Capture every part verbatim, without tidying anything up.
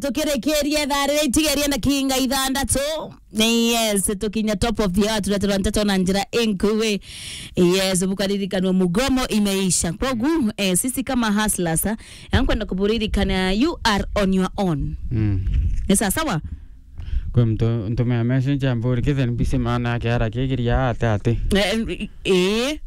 Tukirikiria ithaa riri itigerie na kinga ithandatu. Yes, tukinya top of the hour, tureterwa nteto na njira inkui. Yes, bukaririkanwa mugomo imeisha. Kwogu, eh, sisi kama hustlers, eh, nkwenda kuburirikana, you are on your own. Mm. Ni sawa sawa? Kwi mtu ntumia message amburi, "Kithe mbisi maana yake ara kigiria ate ate." Eh, eh.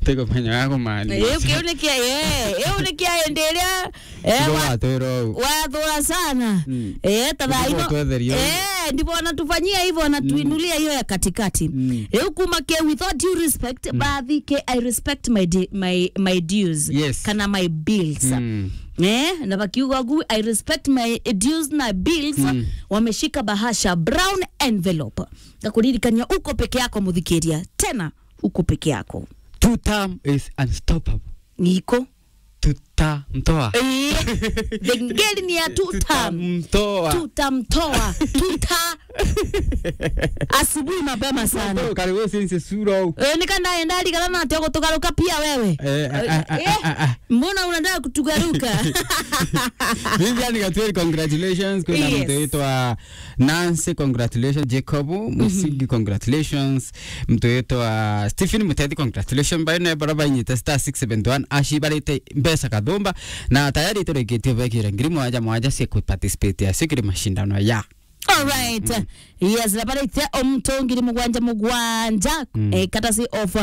Tikumenya ya kumaanisha. Eh, kiu ni kia, eh, iu ni kia indi iria, eh, Tiga wa-, watwira uu. Wathura sana. Mm. Eh, ta thaa ino. Tiga utwetherie uu. Eh, ndivyo wanatufanyia hivyo, wanatuinulia hiyo ya katikati. Mm. Riu kuma ke, with all due respect, bathi ke, I respect my di-, my, my dues. Yes. Kana my bills. Mm. Eh, na bakiuga gu, "I respect my dues na bills." Mm. Wameshika bahasha, brown envelope. Ngakuririkania uko peke yako, muthikiria. Tena, uko peke yako. Two term is unstoppable. Niko. Tutamtoa. Eh, the ngeli ni ya two term. Tutamtoa. Tutamtoa. Tuta-, asubuhi mapema sana. Karibu since sura. Eh, nika ndaenda rigana na ati gutugaruka pia wewe. Eh, ah, ah, ah, eh, ah, ah. Mbona unaenda kutugaruka? Vivian Gatweri, congratulations. Kuna Yes. mtu aitwa Nancy, congratulations. Jacob Musigi, congratulations. Mtu witwa Stephen Mutethi, congratulations. Bayo ne bara bainyite star six seven one ashi barite mbeca kathumba, na tayari turikitie bekire ngiri mwanja mwanja cia ku participate ya sikiri mashindano ya. All right. Yes, na barite omto ngiri mugwanja mugwanja, eh, courtesy of,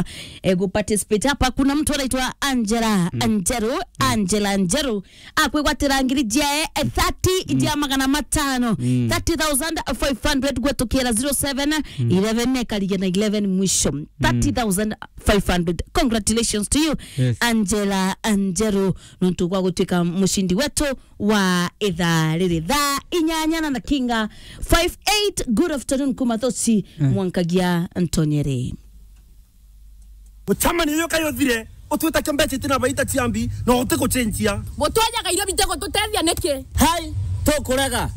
eh, ku participate hapa. Kuna mtu anaitwa Angela Anjeru, Angela Anjeru. Akwigwatira ngiri ciae, eh, thirty cia magana matano. Thirty thousand five hundred gwetukira zero seven eleven, nekarigia na eleven mwisho. Thirty thousand five hundred. Congratulations to you, Yes. Angela Anjeru, nontu gwa gutwika mucindi wetu wa ithaa riri. Thaa inyanya na ndakinga five eight. Good afternoon, kuma Thosi, mwankagia Ntonyere. Gucamania iyo kayo thire, utwita kia mbeca itina baita ciambi, na uti gucenjia. Gutwenyaga irio bite gututethia niki? Hai, tukurega.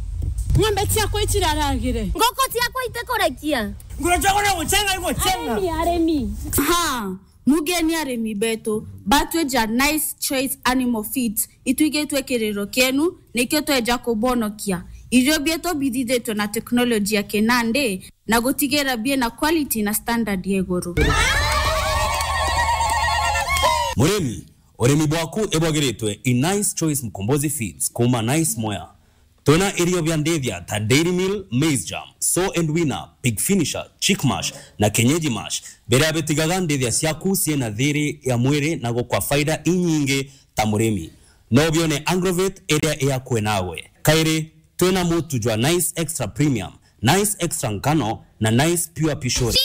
Ng'ombe ciakwa iciraragire. Ngoko ciakwa itikurekia. Nguru ciakwa no gucenga igucenga. Arimi, arimi. Ha, mugeni arimi betu, batweja Nice Choice Animal Feeds, itwigitwe kiriro kienu, nikio tweja kubonokia. Irio bietu bithithitwe na teknoloji ya kinandi, na gutigira biena quality na standard ya iguru. Murimi, urimi bwaku ibwagiritwe i Nice Choice Mkombozi Feeds kuma Nice Mwea. Twina irio bia ndithia ta Dairy Meal, Maize Germ, Sow and Weaner, Pig Finisher, Chick Mash na Kienyeji Mash, biria bitigaga ndithia ciaku ciina thiri ya mwiri na gukwa faida inyingi ta murimi. No bione Agrovet iria iakwe nawe. Kairi, twina mutu jwa Nice Extra Premium, Nice Extra Ngano na Nice Pure Pishori.